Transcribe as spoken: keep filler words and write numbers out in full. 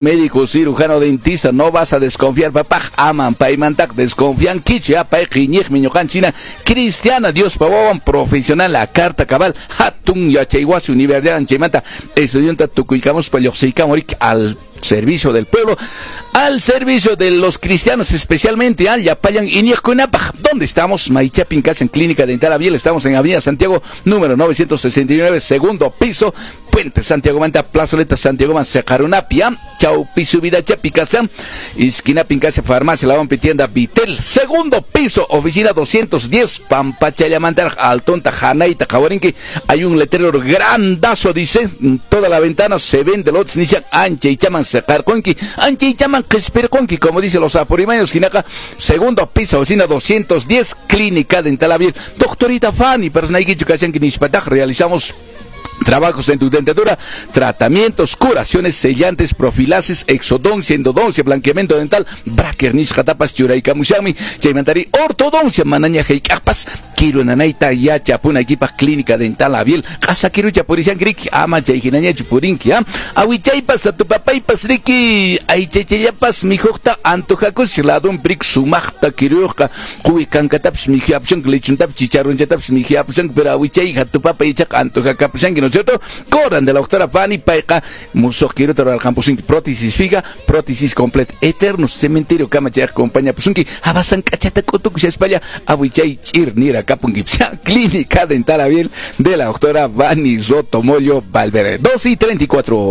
Médico, cirujano, dentista, no vas a desconfiar, papá. Aman, paymantaqa desconfiankichu, ya payqa iñiqmi ñuqanchina cristiana, Diospa wawan profesional, la carta cabal, hatun yachaywasi universidad chaymanta estudianta tukuykamuspa lluqsiykamurik al servicio del pueblo, al servicio de los cristianos, especialmente al llapallan iñiqkunapaq. ¿Dónde estamos? Maychapin casa en Clínica Dental Abiel, estamos en Avenida Santiago, número novecientos sesenta y nueve, segundo piso, Puente Santiago Manta, Plazoleta Santiago Man, Secarunapia, Chaupi subida Chapicasa, esquina Pincasa, Farmacia, La Tienda Vitel, segundo piso, oficina doscientos diez, Pampachallamantar, Altonta, Janaita, Jawarinki, hay un letrero grandazo, dice, en toda la ventana se vende lotes, nishan anchaychaman seqarqunki, anchaychaman qhispirqunki, como dicen los apurimaños, hinaqa, segundo piso, oficina doscientos diez, Clínica Dental Abiel. Doctorita Fanny, personaykichu kashanki nispataq, realizamos trabajos en tu dentadura, tratamientos, curaciones, sellantes, profilaxis, exodoncia, endodoncia, blanqueamiento dental, bracket nisqatapas churaykamushanmi, chaymantari ortodoncia, manaña hayk'aqpas kiru nanayta yachapunaykipaq Clínica Dental Abiel, q'asa kirucha purishanki riki, ama chay hinañachu purinki, ¿ah? Awichaypas, atupapaypas riki, aychaychallapas mikhuqta antojakush, ladun prik sumaqta kiruyqa, quwi kankatapis mikhuyapushanki, lechuntapis chicharrunchatapis mikhuyapushanki, pero awichay atupapay ichaqa antojakapushanki, ¿no es cierto? Corran de la doctora Fanny, payqa musuq kiruta rurarqampusunki, prótesis fija, prótesis completa, eterno cementerio kama chay acompañapusunki, abasan k'achata k'utukushaspalla, awichay ch'ir nira kapunki. Clínica Dental Abiel de la doctora Fanny Sotomollo Valverde. dos y treinta y cuatro.